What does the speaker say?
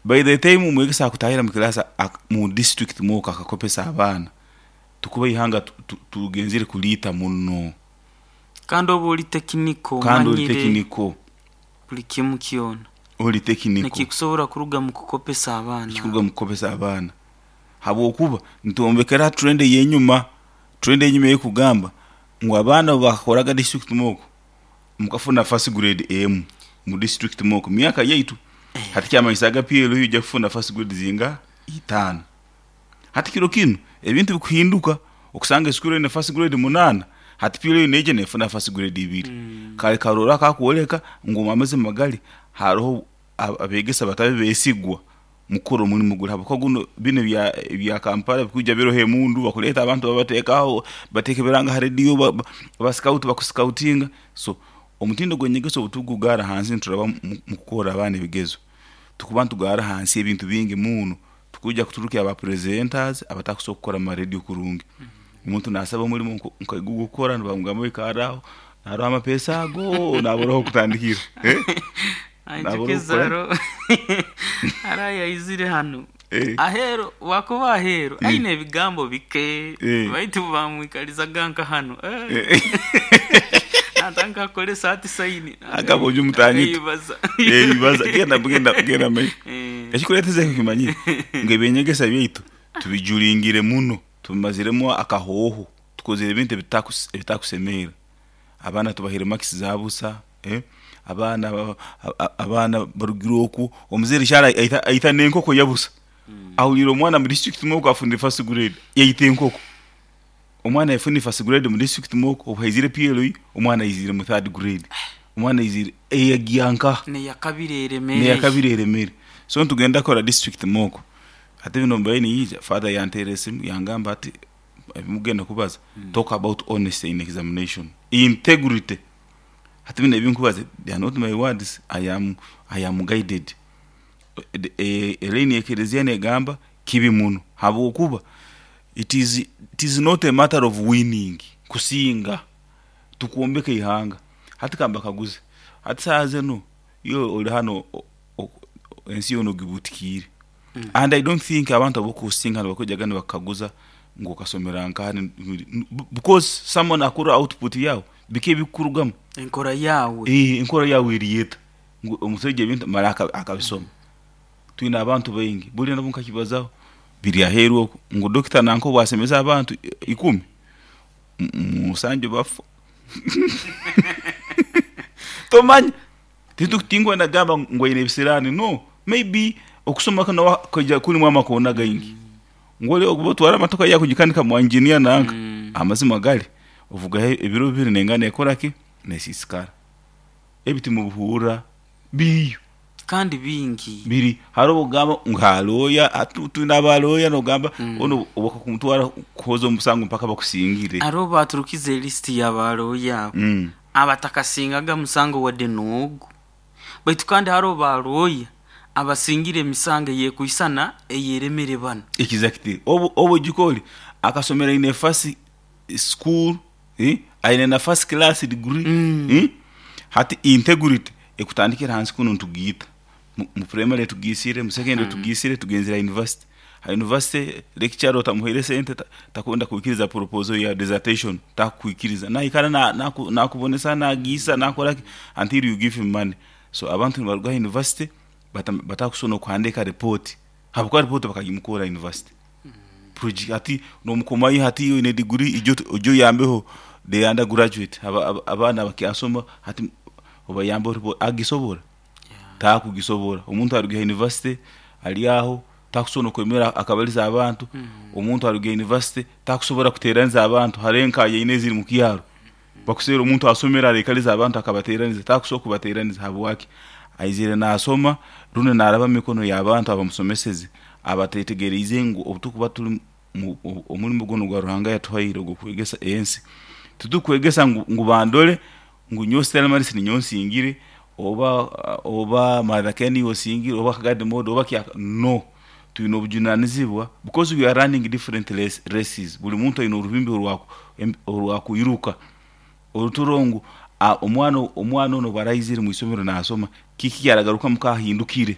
By the time omwegesa akutahira mu class mu district mock akakopesa abaana, tukuba ihanga tugenzire kuliita muno. Kandi oba oli tekiniko Kandi oli omanyire tekiniko. Buli kimu kyona. Oli tekiniko. Nikikusobora kuruga mu kukopesa abaana. Nikikuruga mu kukopesa abaana. Habwokuba nitwombekera ha trend ey'enyuma, trend ey'enyuma eyekugamba ngu abaana obu bakakoraga district mock, mukafuna first grade emu mu district mock mu myaka yaitu. Hati kyamanyisaaga PLU ija kufuna first grade zingaha? Itaano. Hati kiro kinu ebintu bikuhinduka, okusanga esukuru eine first grade munaana, hati PLU neija nefuna first grade ibiri. Kali karora akakwoleka ngu omu amazima gali haroho abegesa batabe besigwa mukukora omulimo guli, habwokuba guno binu ebya Kampala bikwija biroho emundu, bakuleeta abantu babateekaho, bateeka ebiranga ha rediyo, ba scout bakusikautinga. So omutindo gw'enyegesa obu tukugugaara hansi nituraba mukukora abaana ebigezo, tukuba nitugaara hansi ebintu bingi muno. Tukwija kuturukya aba presenters abatakusobora kukora mu marediyo kurungi. Omuntu nasaba omulimo nka ogw'okukora nibamugamba ikarra aho, naroho amapeesa ago nabura ah'okutandikira. Nabura Anjukiza okukora. Haro haro ayaizire hanu aheeru bwakuba aheeru aine ebigambo bike baitu bamwikalizaga nka hanu natandika kukoresa ati sayini Agamba oju mutanyito. akaibaza. Ibaza genda genda genda maiso. Ekikuleeteza ekyo kimanyire ngu eby'enyegesa byaitu tubijulingire muno, tubimaziremu akahooho, tukozere ebintu ebitakusemeera. Abaana tubahaire marks za busa, abaana abaana barugire oku, omuzaire shara aita n'enkoko ya busa. Ahuliire omwana mu district mock afunire first grade, yaita enkoko. Omwana yafunire first grade mu district mock, obu haizire PLE, omwana aiziire mu third grade. Omwana aiziire, yagiiha nkaha? N'eyakabiri eremere. N'eyakabiri eremere. So nitugenda kukora district mock. Hati binu mbaire niinyija, father yanteera esimu yangamba ati ebimukugenda kubaza, talk about honesty in examination, integrity. Hati binu ebinkubaza they are not my words, I am guided. Elaini y'ekereziya negamba kibi muno habwokuba it is not a matter of winning, kusinga, tukwombeka ihanga. Hati kambakaguze, hati saaha zinu iwe ori hanu ensi yoona ogibutikiire and I don't think abantu abu okuhostinga nibakwijaga nibakukaguza ngu okasomera nkaha because someone akurora output yaawe, biki ebikurugamu. Enkora yaawe. Enkora yaawe eri eta? Ngu omusaija ebintu mara akabisoma. Twine abantu baingi, buli nabo nkakibazaho biri aheeru oku ngu dokita nanka obu asemeza abantu ikumi, musanju bafa. Tomanya, tinkwenda kugamba ngu aine ebisiraani, no, maybe okusoma kunu kwija kurimu amakoona gaingi. Ngu ori obu otwara emotoka yaawe kugikanika mwa engineer nanka, amazima gari ovugaho ebiro bibiri nengana nekora ki? Nesiisikara. Ebi timubihurra biriyo. Kandi bingi. Biri haroho obugamba ngu ha lawyer, hati twine aba lawyer nogamba onu obu bakumutwara kuhoza omusango mpaka bakusingire. Haroho baaturukize lisiti ya ba lawyer abo abatakasingaga musango wadde n'ogu. Baitu kandi haroho ba lawyer abasingire emisango ey'ekwisana ey'eremere banu. Exactly. Obu obu Jikoli akasomera in a first school, aine na first class degree, hati integrity ekutandikira hansi kunu nitugiita. Mu primary tugiisire, mu secondary tugiisire, tugenzere ha university. Ha university lecturer otamuhaire sente takwenda kwikiriza proposal ya dissertation, takukwikiriza. Naikara nakubonesa, nagiisa, nakora ki until you give him money. So abantu nibaruga ha university batakusobora n'okuhandiika report habwokuba report bakagimukorra ha university. Hati nomukomayo hati oine degree ija ojye oyambeho the undergraduate abaana abakyasoma hati obayambeho report, agisobora? Takugisobora. Omuntu aruga ha university ari aho takusobora n'okwemera akabaliza abantu, omuntu aruga ha university takusobora kuteraniza abantu hariho enkayaine eziri mu kyaro. Bakuseera omuntu asomere araikaliza abantu akabateraniza, takusobora kubateraniza habwaki? Aizire nasoma rundi naraba mu mikono y'abantu abamusomeseze abatetegeriize ngu obu tukuba turi omulimo gunu ogwa Ruhanga yatuhaire ogw'okwegesa ensi, titukwegesa ngu bandole ngu nyowe Stella Maris ninyowe nsingire oba Mother Ken niiwe osingire oba Kagadi Modi oba Kyaka, no. Twine obujunanizibwa because we are running different races, buli muntu aine oruhimbi orwakwiruka. Oruturo ngu omwana onu obu araizire omu isomero nasoma, kiki kyaragarukamu ka ahindukire?